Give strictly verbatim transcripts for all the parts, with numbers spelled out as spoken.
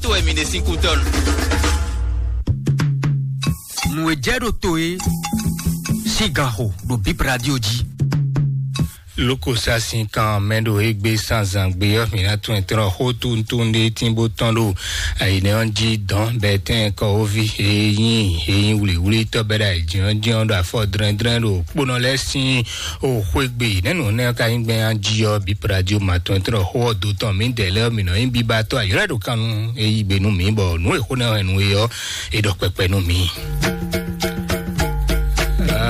To wɛ mi ɖe sín kú tɔn. Nǔ e jɛ ɖo to e sín gan xo ɖo Bip Radio jí. Lókosá sín kan mɛ ɖo égbé sanzangbe ɔ́, mǐ ná tún ɛ tlɔ́n xó tuntun ɖé tín bó tɔn ɖo ayǐnɛ ɔ́ jí dɔn bɛtɛ́n kɔwóví e nyí e nyí wlǐwlítɔ́ bɛ́ ɖo ayǐjínjɔ́n ɖo afɔ dlɛ́ndlɛ́n ɖo kponɔ lɛ́ɛ sín o xwé gbe. Nɛ́nu nɛ́ ka nyí gbɛn jí ɔ́, Bip Radio ma tɔn tlɔ́n xó ɔ́ dó tɔn mǐdɛɛ lɛ́ɛ ɔ́, mǐ nɔ nyí biba tɔ́ ayǐ lɛ́ ɖo kan nú e yí gbe nú mǐ, bɔ nǔ e xó nɛ́ hɛn nú é ɔ́, é ɖɔ kpɛkpɛ nú mǐ.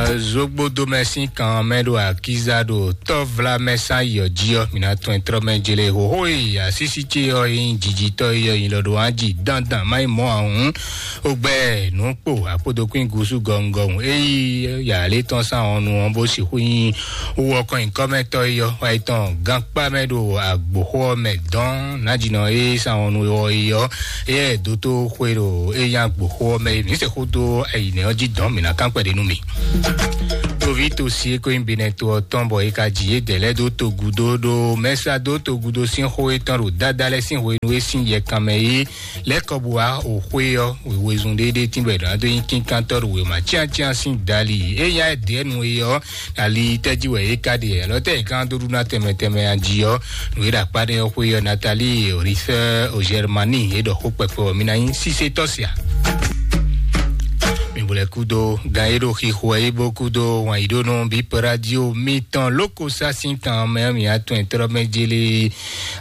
Zogbodomɛ sín kan mɛ ɖo akíza ɖo tɔ́vlamɛ sán yɔ jí ɔ́, mǐ ná tɔn ɛ tlɔ́ mɛ jele hoho e asísí ce ɔ́ e nyí jijitɔ́ e ɔ́ nyi lɔ ɖo wá ji dandan má yi mɔ ahun. Ogbɛ nǔkpo akpódokún gúsú gɔngɔn e yí yǎlé tɔn sán ɔ́ nu ɔ́ bó sixú nyí wú ɔkɔn nyǐkɔ́mɛtɔ́ e ɔ́ wá yi tɔn gankpá mɛ ɖo agboxó ɔ́ mɛ dɔn nájínɔ e sán ɔ́ nu ɔ́ e ɔ́. Eyɛ dótó xwe ɖo e nyí agboxó ɔ́ mɛ mǐ se xó dó ayǐnɛ ɔ́ jí dɔn mǐ ná kán kpɛɖé nú mì. Toví tosi e ko nyí benɛto ɔ́ tɔn bɔ é ka ji yě dɛ̌ lɛ́ɛ dó togudo ɖo mɛsa dó togudo sín xó e tɔn ɖo dáda lɛ́ɛ sín hwenu e sín yɛkan mɛ é lɛ́ kɔ bó wá o xwé ɔ́ wěwezun ɖéɖé tínbɔ è ɖǒ ná dó nyí kínkántɔ́ ɖo wěma cyáncyán sín dali. É nyí ayɛdɛ̌nu e ɔ́ ali tɛ́ jí wɛ é ka ɖe alɔ tɛ́ è gán dó ɖu ná tɛnmɛ tɛnmɛ a jí ɔ́. Nǔ e ɖo akpá ɖé ɔ́ xwé ɔ́, Natali Orifɛ Ozɛrmani é ɖɔ xó kpɛkpɛ ɔ́ mi ná nyí sísétɔ́ sia. Mi bo lɛ kúdó gan e ɖo xixo ɛ yi bó kúdó wǎn yi ɖó nú Bip Radio mitɔn lóko sá sín kan mɛ mi atɔn e tlɔ́ mɛ jélé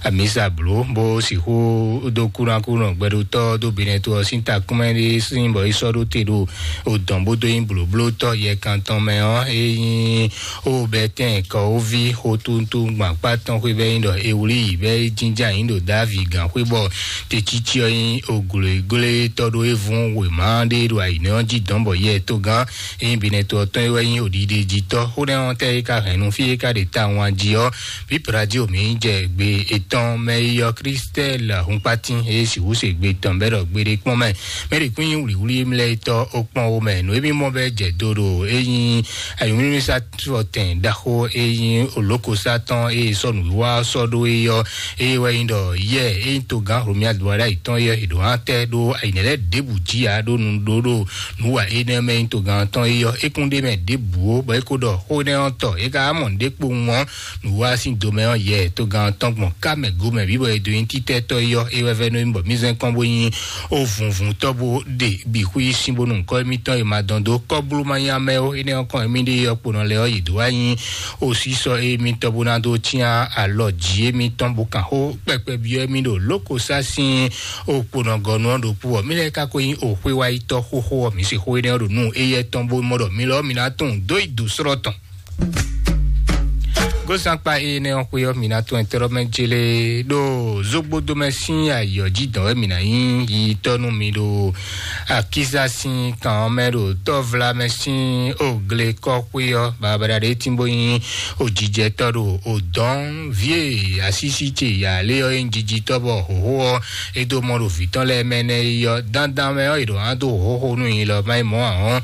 amisa bló bó sixú dó kúnákúnɔ gbɛɖotɔ́ dó binɛto ɔ́ sín takúnmɛ ɖé sín bɔ é sɔ́ ɖó te ɖo o dɔn bó dó nyí blǒblótɔ́ yɛkantɔn mɛ ɔ́ é nyí o bɛtɛn kɔwóví xótúntú gbǎkpá tɔn xwé bɛ́ nyí ɖɔ e wlí yǐ bɛ́ é jínjɔ́n ayǐ ɖo Davi gǎn xwé bɔ tecící ɔ́ nyí oglǒglé tɔ́ ɖó é vún wěma ɖé ɖo ayǐnɛ́ ɔ́ jí dɔn bɔ yɛ togán é nyí binɛto ɔ́ tɔn é wɛ nyí oɖiɖejítɔ́ xó nɛ́ ɔ́ tɛ́ é ka hɛn nú fí é ka ɖe tawun jí ɔ́. Bíp radio mǐ jɛ gbe etɔn mɛ yi ɔ́ Kristɛl Hunkpatín e sixú se gbe tɔn bɛ́ ɖɔ gbeɖé kpɔ́n mɛ mɛ ɖě kún nyí wlǐwlí mlɛ́ tɔ́ ó kpɔ́n ó mɛ nǔ e mì mɔ bɛ́ jɛ do ɖo é nyí ayǐmúmísá tɔtɛn ɖaxó e nyí olókosá tɔn e sɔ́ nǔwiwa sɔ́ ɖó é ɔ́. Eye wɛ nyí ɖɔ yɛ e nyí togán Romiad Duada yětɔn é ɔ́, è ɖǒ ná tɛ́ ɖó ayǐnɛ́ lɛ́ɛ ɖěbǔ jí ǎ ɖó nu ɖó ɖo nǔ wa énɛ́ mɛ nyí togán tɔn é ɔ́, é kún ɖ'é mɛ ɖěbǔ ó, bɔ é ko ɖɔ xó énɛ́ ɔ́ tɔ é ka wá mɔ nǔɖé kpowun ɔ́, nǔwa sín domɛ ɔ́ yɛ togán tɔn gbɔn ká mɛ go mɛ bǐ bɔ è dó nyí títɛ́tɔ́ é ɔ́, é wɛ vɛ́ nú mì bɔ mì zɛ́n kɔn bó nyí ó vunvun tɔ́ bó ɖe bǐ xwí sín bónú kɔ́ émítɔn e ma dɔn dó kɔ́blú ma nyí amɛ ó. Énɛ́ ɔ́ kɔn émí ɖe ɔ́ kponɔ lɛ́ɛ ɔ́ yě dó wá nyí osísɔ émítɔn bó ná dó cyán alɔ jǐ émítɔn bó kan xó kpɛkpɛ byɔ́ émí ɖo lókosá sín okponɔgɔnu ɔ́ ɖokpó ɔ́. Mí lɛ́ɛ ka ko nyí oxwé wá yi tɔ́ xóxó ɔ́, mǐ se xó énɛ́ ɔ́ ɖo nú éyɛ́ tɔn bó mɔ ɖɔ mi lɔ ɔ́ mi ná tunwun dó yi dǒ slɔ́ tɔn. Gósankpa énɛ́ ɔ́ xwé ɔ́, mǐ ná tɔn ɛtɛ́rɔ́mɛ jélé ɖo zógbódómɛ sín ayǐ ɔ́ jí dɔn wɛ mǐ ná nyí yiyitɔ́ nú mi ɖo akíza sín kan ɔ́ mɛ ɖo tɔ́vlamɛ sín oglekɔ́xwé ɔ́. Babada ɖé tín bó nyí ojijɛtɔ́ ɖo odɔ̌n vǐ e asísí ce yǎ lé ɔ́ é nyí jijitɔ́ bɔ hǒxo ɔ́ é dó mɔ ɖo vǐ tɔn lɛ́ɛ mɛ nɛ́ yi ɔ́, dandan mɛ ɔ́, è ɖǒ ná dó hǒxo nú nyi lɔ má yi mɔ̌ ǎ hɔ́n.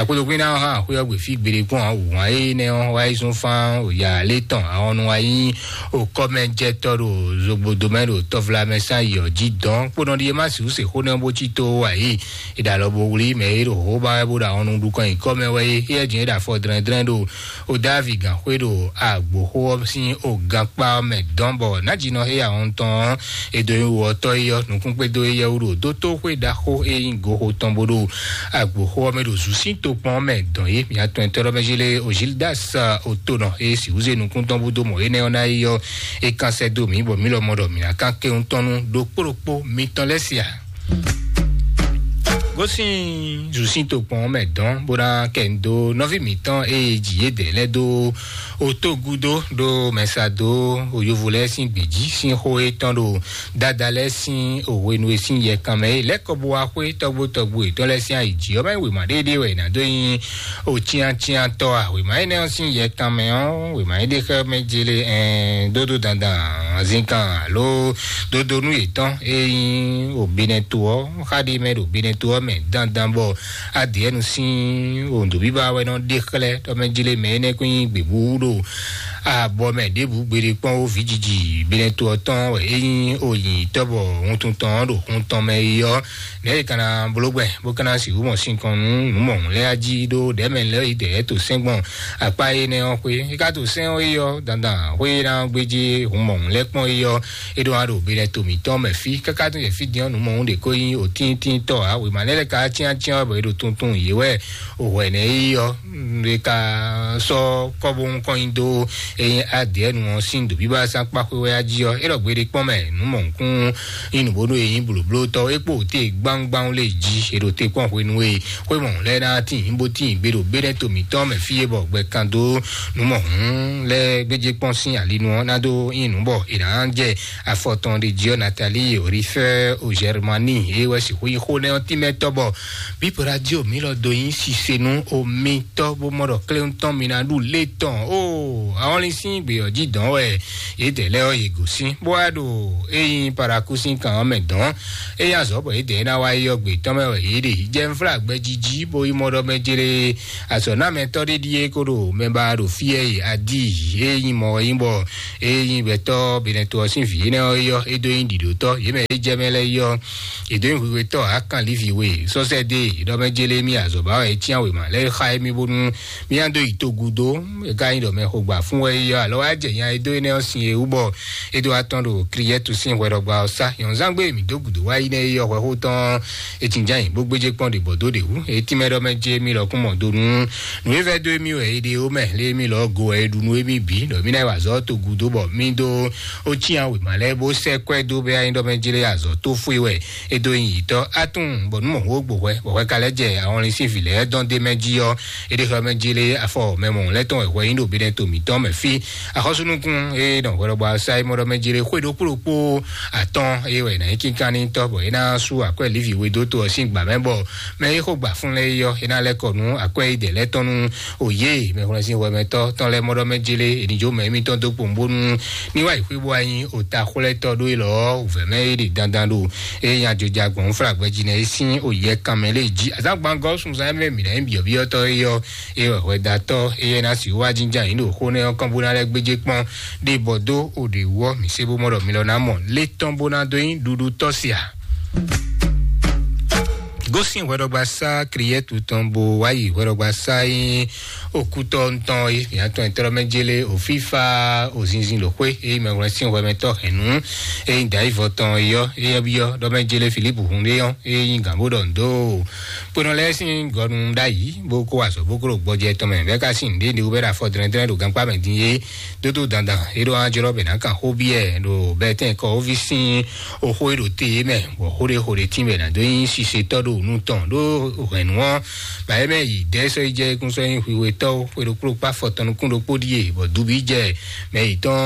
Akpodokún ná hán axwé ɔ́ gbe fí gbeɖé kpɔ́n ǎ wǎn énɛ́ ɔ́ wá yi zɔ́n fán yǎ lé tɔn ahɔnnu wá nyí okɔ́mɛjɛtɔ́ ɖo zogbodo mɛ ɖo tɔvlamɛ sán yi ɔ́ jí dɔn kpónɔ ɖi e má sixú se xó nɛ́ bó cí tó wá yi. È ɖo alɔ bo wlí mɛ e ɖo hǒxo ba wɛ bó ɖo ahɔnnu ɖu kɔn nyi kɔ́ mɛ wɛ é. Éyɛ́ jǐ é ɖo afɔ dlɛ́ndlɛ́n ɖo o Davi gǎnxwé ɖo agboxó ɔ́ sín o gankpá ɔ́ mɛ dɔn bɔ nǎjínɔ éyá ɔ́ tɔn ɔ́, e dó nyí wɔ tɔ́ é ɔ́, nukúnkpédó éyɛ́ wú ɖo dótóxwé ɖaxó e nyí goxo tɔn bó ɖo agboxó ɔ́ mɛ ɖo zǔsín tokpɔn ɔ́ mɛ dɔn é. Mǐ atɔn e tɔ́ ɖɔ mɛ jí lé o Gildas Otonɔ e sixú zé nukún tɔn bó dó mɔ énɛ́ ɔ́ ná é ɔ́, é kán sɛ́ dó mǐ bɔ mǐ lɔ mɔ ɖɔ mǐ ná kán kɛ́n tɔn nú ɖokpó ɖokpó mitɔn lɛ́ɛ se a? Gosín zǔsín tokpɔn ɔ́ mɛ dɔn bó ná kɛ nu dó nɔví mǐtɔn e jǐ yě dɛ lɛ́ɛ dó otógúdó ɖó mɛsa dó oyovo lɛ́ɛ sín gbějí sín xó e tɔn ɖo dada lɛ́ɛ sín òhwenu e sín yɛkan mɛ é lɛ́ kɔ bó wá xwé tɔgbo tɔgbo yětɔn lɛ́ɛ sín ayǐ jí ɔ́ mɛ wěma ɖéɖé wɛ è nǎ dó nyí ocyáncyántɔ́ a? Wěma énɛ́ ɔ́ sín yɛkan mɛ ɔ́, wěma é ɖe xlɛ́ mɛ jélé ɛn dódó dandan azínkan alo dodonu yětɔn e nyí obinɛto ɔ́, xa ɖi mɛ ɖo binɛto ɔ́ mɛ dandan bɔ adìɛnu sín ondo bíbá wɛ nɔ ɖe xlɛ́ tɔmɛjlé mɛ énɛ́ kún nyí gběbú ɖo abɔ mɛ ɖěbǔ gbeɖé kpɔ́n ó vǐjiji binɛto ɔ́ tɔn wɛ é nyí oyǐnyitɔ́ bɔ wuntun tɔn ɔ́ ɖo hun tɔn mɛ é ɔ́, nɛ̌ è ka ná bló gbɛn bó ka ná sixú mɔ sinkɔn nú nǔ mɔ̌hun lɛ́ɛ jí ɖó ɖɛ̌mɛ lɛ́ɛ yi dɛ̌ to sɛ́n gbɔn akpá énɛ́ ɔ́ xwé. É ka to sɛ́n ɔ́ é ɔ́ dandan xwé ná gbéjé hun mɔ̌hun lɛ́ɛ kpɔ́n é ɔ́, é ɖó wá ɖo binɛto mǐtɔn mɛ fí káká tún yɛ fí din ɔ́ nǔ mɔ̌hun ɖě ko nyí òtíntíntɔ́ ǎ. Wěma lɛ́ɛ lɛ́ɛ ka cyán cyán wɛ bɔ é ɖo tuntun yě wɛ. Òhwɛ nɛ́ é ɔ́, ɖe ka sɔ́ kɔ́bó ŋkɔn nyi dó eyín adìɛnu ɔ́ sín dǒbíbá sán kpáxwé wɛ á jí ɔ́, é ɖɔ gbeɖé kpɔ́n mɛ nǔ mɔ̌hunkún nyí nǔbónú e nyí blǒblótɔ́ é kpó te gbáwúgbáwú lé jí. È ɖo te kpɔ́n hwenu e xwé mɔ̌hun lɛ́ɛ ná tín bó tín gbe ɖo bénɛ́ to mǐtɔn mɛ fí é bɔ gbɛ kan dó nǔ mɔ̌hun lɛ́ɛ gbéjé kpɔ́n sín alinu ɔ́ ná dó nyí nǔ bɔ è nǎ jɛ afɔ tɔn ɖe jí ɔ́. Natali Orifɛ o Germani é wɛ sixú nyí xó nɛ́ ɔ́ tínmɛtɔ́ bɔ Bíbo radio mi lɔ do nyí sise nú omitɔ́ bó mɔ ɖɔ kléwún tɔn mi ná ɖu lé tɔn o. Àwọn ní sín gbé ɔ́ jí dɔn wɛ yědɛɛ lɛ́ɛ ɔ́ yě gosín bó wá ɖo é nyí paraku sín kan ɔ́ mɛ dɔn. É nyí azɔ̌ bɔ yědɛɛ ná wá yi ɔ́ gbé tɔn mɛ wɛ yě ɖe jɛ nflá gbɛ jiji bó yi mɔ ɖɔ mɛ jere azɔ̌ ná mɛtɔ́ ɖé ɖíe kó ɖo mɛ ba ɖo fí ɛ yi adi é nyí mɔ é nyí bɔ é nyí gbɛtɔ́ benɛto ɔ́ sín vǐ énɛ́ ɔ́ yɔ é dó nyí ɖiɖotɔ́ yě mɛ é jɛ mɛ lɛ́ɛ yɔ. È dǒ nyi hwihwetɔ́ Akan Livi we sɔ́sɛ́dé ɖɔ mɛ jélé mì azɔ̌ ba wɛ é cyán wěma lɛ́ɛ xa émí bónú mì ná dó yi togu dó. É ka nyí ɖɔ mɛ xogba fún wɛ é yɔ alɔ wá jɛ nya e dó énɛ́ ɔ́ sin e wú bɔ é dó wá tɔ́n ɖo Kliyɛ́tu sín hwɛɖɔgba ɔ́ sá. Nyɔ̌nzángbe mǐ dó gǔdo wá yi nɛ́ é yɔ hwɛxó tɔn é tinján nyi bó gbéjé kpɔ́n ɖě bɔ dó ɖě wú. É tínmɛ ɖɔ mɛ jé mì lɔkún mɔ do nú nǔ e vɛ́ dó émí wɛ é ɖe ó mɛ lé émí lɔ go wɛ é ɖu nú émí bǐ ɖɔ mì ná yi wa azɔ̌ togu dó bɔ mì dó ó cyán wěma lɛ́ɛ bó sɛ́ kwɛ́ dó bɛ anyí ɖɔ mɛ jélé azɔ̌ tó fó é wɛ é dó nyi yǐtɔ́ atún bɔ nú mɔ̌ wó gbo hwɛ bɔ hwɛ ka lɛ́ jɛ ahɔnlin sín vǐ lɛ́ɛ dɔn dé mɛ jí ɔ́. É ɖe xɔ mɛ jélé afɔ mɛ mɔ̌ lɛ́ tɔn wɛ hwɛ nyí ɖo bínɛ́ to mǐtɔn mɛ fí. Axɔ́súnukún é nɔ hwɛ lɔbɔ asá é mɔ ɖɔ mɛ jélé xwé ɖokpó ɖokpó atɔ́n é wɛ nǎ nyí kínkan ní tɔ́ bɔ é ná sú akwɛ́ Livi we dó to ɔ́ sín gbǎ mɛ bɔ mɛ é xó gbà fún lɛ́ɛ é yɔ é ná lɛ́ kɔ nú akwɛ́ é dɛ lɛ́ tɔn nú òye mɛhwlɛ́nsín hwɛmɛtɔ́ tɔn lɛ́ɛ mɔ ɖɔ mɛ jélé é ní jó mɛ émítɔn dó kpowun bónú ní wá yi xwé bó wá nyí ota xwlɛ́tɔ́ ɖó é lɔ ɔ́ wǔvɛ́ mɛ é ɖe dandan ɖo é nya joja gbɔn flagbɛ jí nɛ é sín òye kanmɛ lé jí azǎngbangɔ sunzan mɛ mǐ ná nyí byɔ̌byɔ́tɔ́ é yɔ é wɛ hwɛdatɔ́ é yɛ ná si wá jínján yín ɖo xó nɛ ɔ́ kɔn bó ná lɛ́ gbéjé kpɔ́n ɖé bɔ dó òɖè wú ɔ́ mǐ sé bó mɔ ɖɔ mi lɔ ná mɔ lé tɔn bó ná dó nyí ɖuɖu tɔ́ sia. Gósín hwɛɖɔgba sá Kriyɛtu tɔn bó wá yi hwɛɖɔgba sá nyí okútɔ ŋutɔn é mǐ atɔn ɛtɔ́ mɛ jélé òfífá òzinzin ɖo xwé é mɛ wlɛ́ sín hwɛmɛtɔ́ hɛ̌nnu é nyí dǎyívɔ tɔn é yɔ é yɔ byɔ́ ɖɔ mɛ jélé Filípu hun ɖé yɔ́ é nyí gǎn bó ɖɔ ndo kpenɔ lɛ́ɛ sín gɔnu ɖ'ayǐ bó kó azɔ̌ bó kó ɖo gbɔjɛ tɔn mɛ bɛ́ ka sín nǔɖé ɖe wú bɛ́ ɖo afɔ dlɛ́ndlɛ́n ɖo gankpá mɛ din é dódó dandan é ɖó wá jlɔ́ bɛ ná kan xó byɔ́ ɛ ɖo bɛ́ tɛ́n kɔ wóví sín oxó e ɖo te é mɛ bɔ xó ɖé xó ɖé tín bɛ ná dó nyí sisetɔ́ ɖo nú tɔn ɖó hwɛ̌nu ɔ́ bǎ é mɛ yi dɛ̌ sɔ́ yi jɛ é kún sɔ́ nyí hwihwetɔ́ xwe ɖokpó kpá afɔ tɔn nukún ɖokpó ɖíe bɔ dubi jɛ mɛ yětɔn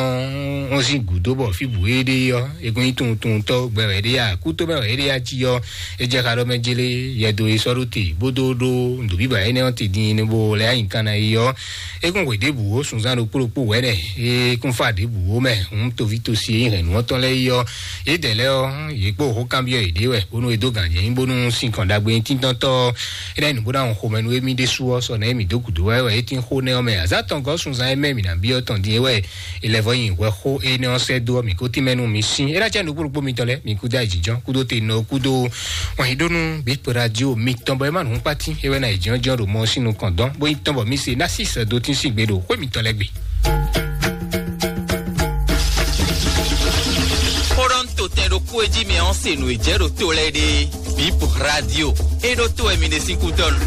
ɔ́ sín gǔdo bɔ fí bǔ é ɖe ɔ́ é kún nyí tunwuntunwuntɔ́ gbɛ wɛ é ɖe ya kútó mɛ wɛ é ɖe ya jí ɔ́ é jɛ xa ɖɔ mɛ jélé yɛdo e sɔ́ ɖó te bó dó ɖó nǔɖobíbǎ énɛ́ ɔ́ te din bó lɛ́ anyǐkan ná yi ɔ́ é kún hwe ɖěbǔ ó sunzán ɖokpó ɖokpó wɛ̌nɛ é kún fá ɖěbǔ ó mɛ hǔn toví tosi e nyí hɛ̌nnu ɔ́ tɔn lɛ́ɛ yi ɔ́ yědɛɛ lɛ́ɛ ɔ́ yě kpó xó kanbyɔ́ yěɖée wɛ bónú é dó gǎn jɛ nyí bónú sín kɔn ɖagbe tíntɔ́ntɔ́ é ná yi nǔ bó ná hun xomɛ nú émí ɖésú ɔ́ sɔ nɛ̌ mǐ dó gǔdo wɛ wɛ é tín xó nɛ́ ɔ́ mɛ azǎn tɔn gɔ́ sunzán é mɛ mǐ ná byɔ́ tɔn din é wɛ è lɛ́ vɔ nyi hwɛxó énɛ́ ɔ́ sɛ́ dó ɔ́ mǐ kó tínmɛ nú mi sín é ná cɛ nǔgbó ɖokpó mitɔn lɛ́ɛ mi kúdó ayǐjínjɔ́n kúdó te nɔ kúdó wɔn yí ɖó nú bí radio mitɔn bɔ é má nǔ kpátín é wɛ ná ayǐjínjɔ́n ɖo mɔ sín nukɔn dɔn bó nyí tɔn bɔ mi se ná sí sɛ́ dó tín sín gbe ɖo xwé mitɔn lɛ́ɛ gbe. Xó ɖɔ ń to tɛn ɖokpó e jí mi ɔ́ se nǔ e jɛ ɖo to lɛ́ɛ ɖe bíp radio é ɖó to wɛ mi ɖe sín kútɔ́ nu.